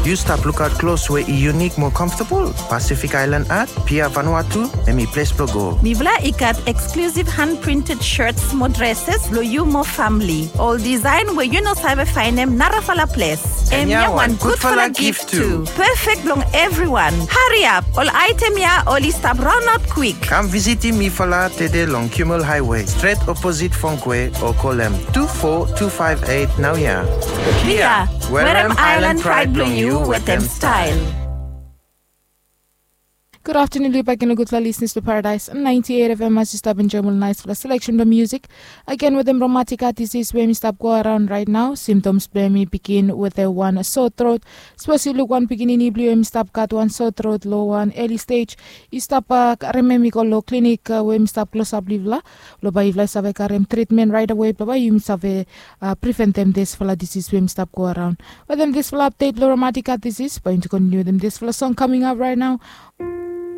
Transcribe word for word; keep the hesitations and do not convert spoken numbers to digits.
Yu stap lukaot klos we i yunik mo komfotabol? Pacific Island Art, Pia Vanuatu, hemi ples blong go. Mifala i gat eksklusiv han printed shirts mo dresses blong yu mo famili. Ol design we yu no save faenem narafala ples. Hemia wan gudfala gif tu. Perfect blong evriwan. Hariap, ol aetem ya oli stap raonaot kwik. Kam visitim mifala tede long Kimmel Highway, stret oposit Fongkwe, o kolem tu fo tu faef eit naoia. Pia, werem Island Pride blong yu wetem style. Gud aftanun long yu bakegen, ol gudfala lisenas blong Paradise ninety-eight F M, as yu stap enjoem ol naesfala seleksen blong musik. Agen wetem rheumatic heart disease we hemi stap go araon raet nao. Symptoms blong hem i bigin wetem wan sore throat. Sapos yu luk wan pikinini blong yu hemi stap gat wan sore throat long wan early stage, yu stap karem hem i go long klinik we hemi stap klosap long yufala, blong bae yufala i save karem tritmen raet awe, blong bae yumi save preventem disfala disis we hemi stap go araon. Wetem disfala apdet blong rheumatic heart disease, bae yumi kontiniu wetem disfala song kaming ap raet nao.